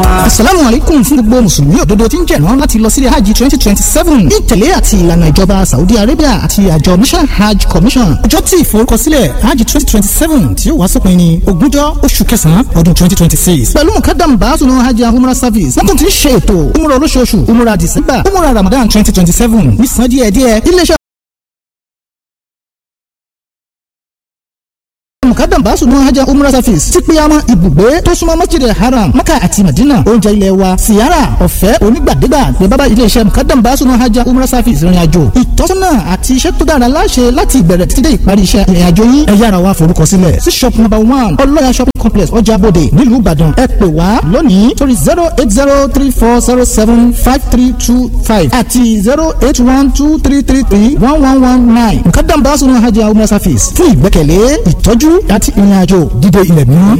wa. Asalaamu alaikum fún gbogbo mùsùlùmí òdodo tí ń jẹ̀rán láti lọ sílé hajj 2027 ní ìtẹ̀lé àti ìlànà ìjọba Saudi Arabia àti àjọ National Hajj Commission. Ọjọ́ tí ìforúkọsílẹ̀ hajj 2027 tí ó wá sópin ní ogúnjọ́ oṣù kẹsàn-án ọdún 2026. Pẹ̀lú mukadam baasunu hajj and umrah service, wọ́n tún ti ń ṣe ètò umrah olóṣooṣù, umrah December, umrah Ramadan 2027 nísàn díẹ̀díẹ̀. Iléeṣẹ́ mukadam baasunu hajj and umrah service ti pe àwọn ibùgbé tó súnmọ́ Masjid Haram, Maka àti Madina, oúnjẹ ilẹ̀ wa, siyara ọ̀fẹ́ onígbàdégbà ní bàbá iléeṣẹ́ mukadam baasunu hajj and umrah service ìrìn àjò ìtọ́sọ́nà àti iṣẹ́ tó dára láṣẹ láti ìbẹ̀rẹ̀ títí dé ìparí iṣẹ́ ìrìn àjò yín. Ẹ yára wá forúkọ sílẹ̀ sí shop number 1 Ọlọ́ya shopping complex, Ọjà Bòde, nílùú Ìbàdàn. Ẹ pè wá lónìí torí 08034075325 àti 08123331119. Mukadam baasunu hajj and umrah service fún ìgbẹ́kẹ̀lé, ìtọ́jú àti ìrìn àjò dídé ilẹ̀ mímọ́.